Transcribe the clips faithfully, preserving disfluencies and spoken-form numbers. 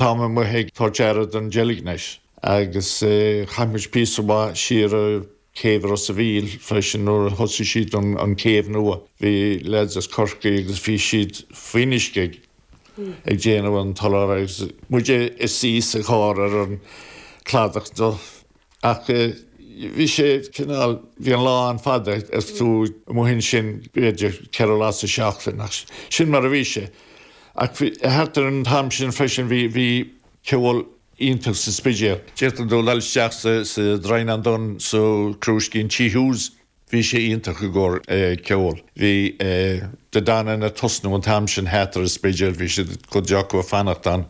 Tá amuigh ag tabhairt aire don deilgneis agus chaith muid píosa siar céibh Ros an Mhíl freisin nuair a thosaigh siad an, an céibh nua. Bhí lads as Corcaigh agus bhí siad faoin uisce ag déanamh an tollán agus muid is sí sa chár ar an cladach do ach bhí sé cineál bhí an lá an-fhada is tú amuigh ansin b'fhéidir ceithre lá sa seachtain ach sin mar a bhí sé. Ach thart ar an t-am sin freisin bhí bhí ceol iontach sa Spidéal. D'fhéadfá dul isteach sa sa Droighneán Donn sa Crúiscín Tí Hughes bhí sé iontach i gcomhair ceol. Bhí De Danann ag tosnú an t-am sin thart ar an Spidéal, bhí siad cuid acu ag fanacht ann.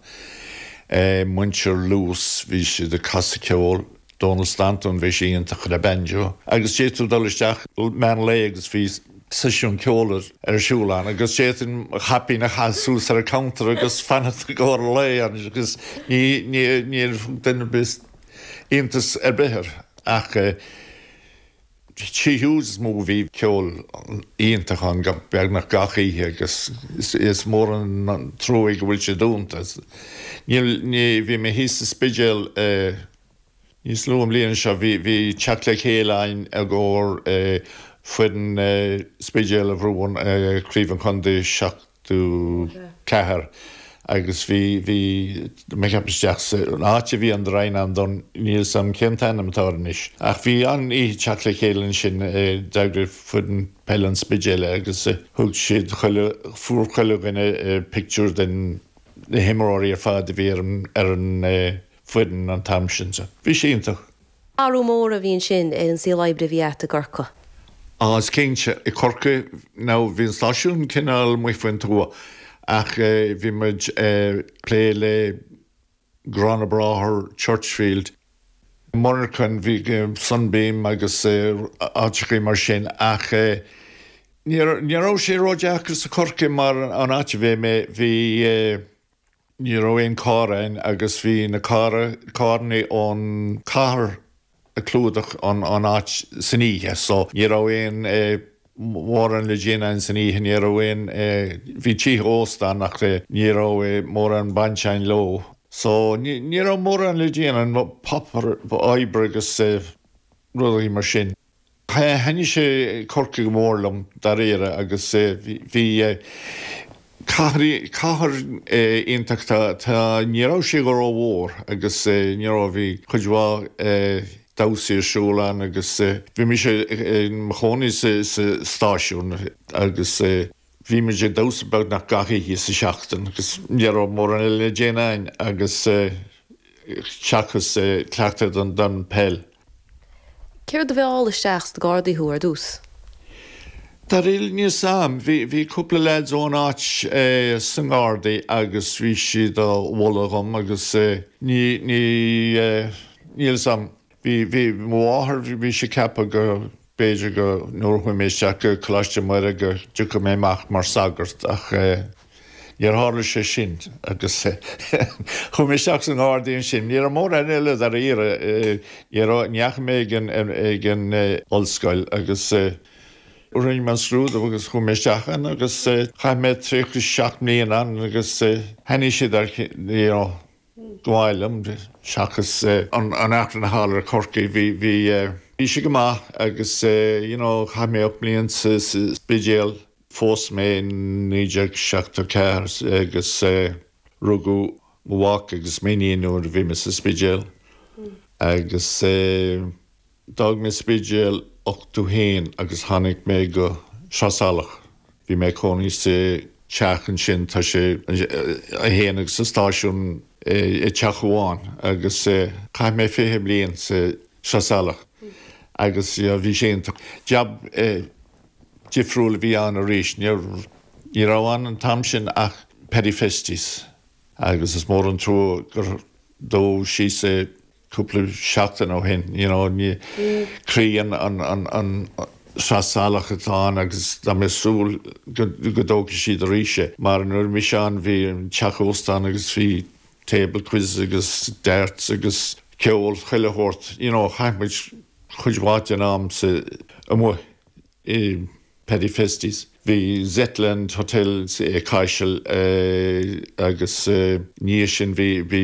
Muintir Lewis bhí siad ag casadh ceol. Donald Stanton bhí sé iontach le banjo. Agus d'fhéadfá dul isteach meán lae agus bhí seisiún ceoil ar siúl ann agus d'fhéadfainn caipín a chaitheamh suas ar an counter agus fanacht i gcomhair lae agus ní ní níor duine bis iontas ar bith air ach Tí Hughes mó bhí ceol iontach ann beagnach gach oíche agus is mór an trua go bhfuil sé dúnta. Níl ní bhí mé thíos sa Spidéal níos luaithe an bhliain seo bhí bhí teacht le chéile ann i gcomhair foireann Spidéal a bhuaigh craobh an chontae seachtó ceathair agus bhí bhí mé ceap isteach an áit a bhí an Droighneán Donn níl 's a'm cén t-ainm atá anois. Ach bhí an oíche teacht le chéile ansin d'eagraigh foireann peile an Spidéil agus thug siad chuile fuair chuile dhuine pictiúr den na himreoirí ar fad a bhí ar an ar an foireann an t-am sin so. Bhí sé iontach. Athrú mór a bhí ansin ar an saol oibre a bhí agat i gCorcaigh. Á is cinnte i Corcaigh ná bhí an stáisiún cineál amuigh faoin tuath ach bhí muid plé le Grána Bráthair Churchfield. Monarchan bhí Sunbeam agus áiteachaí mar sin ach ní raibh sé ródheacair sa Corcaigh mar an áit a bhí mé bhí ní raibh aon carr ann agus bhí na carr carranna ón cathair ag clúdach an an áit san oíche so ní raibh aon mórán le déanamh san oíche ní raibh aon bhí tithe ósta ach ní raibh mórán baint againn leo. So ní ní raibh mórán le déanamh páipéar oibre agus rudaí mar sin. Thaitnigh sé Corcaigh go mór liom dáiríre agus bhí cathair cathair iontach tá ní raibh sé go rómhór agus ní raibh bhí cuid mhaith damhsaí ar siúl ann agus bhí mise i mo chónaí sa sa stáisiún agus bhí muid ag damhsa beagnach gach oíche sa seachtain agus ní raibh mórán eile le déanamh agus seachas cleachtadh don don peil. Céard a mheall isteach sna Gardaí thú ar dtús? Dáiríre níl 's a'm bhí bhí cúpla lads ón áit sna Gardaí agus bhí siad á mholadh dhom agus ní ní níl 's a'm bhí bhí mo mháthair bhí sí ceaptha go b'fhéidir go nuair chuaigh mé isteach go Coláiste Muire go dtiocfadh mé amach mar sagart ach níor tharla sé sin agus chuaigh mé isteach sna Gardaí ansin ní raibh mórán eile dáiríre ní raibh ní dheachaigh mé ag an ag an ollscoil agus rinne mé an scrúdú agus chuaigh mé isteach ann agus chaith mé tríocha seacht mbliana ann agus thaitnigh siad ar you know go maith liom seachas an an achrann thall ar Corcaigh bhí bhí bhí sé go maith agus you know chaith mé ocht mbliana sa Spidéal phós mé naoi déag seachtó ceathair agus rugadh mo mhac agus m'iníon nuair a bhí mé sa Spidéal agus d'fhág mé Spidéal ochtó haon agus tháinig mé go Sraith Salach. Bhí mé cónaí sa teach ansin tá sé a haon agus sa stáisiún i teach amháin agus chaith mé fiche bliain sa Sraith Salach agus bhí sé iontach. Jab difriúil a bhí ann arís ní ní raibh ann an t-am sin ach Paddy Festies agus is mór an trua gur dódh síos é cúpla seachtain ó shin you know ní croí an an an an Sraith Salach atá ann agus tá mé súil go go dtógfaidh siad arís é mar nuair mise ann bhí an teach óstán agus bhí table quiz agus darts agus ceol chuile shórt you know chaith muid chuid mhaith den am sa amuigh i Paddy Festies. Bhí Zetland Hotel Caiseal agus ní sin bhí bhí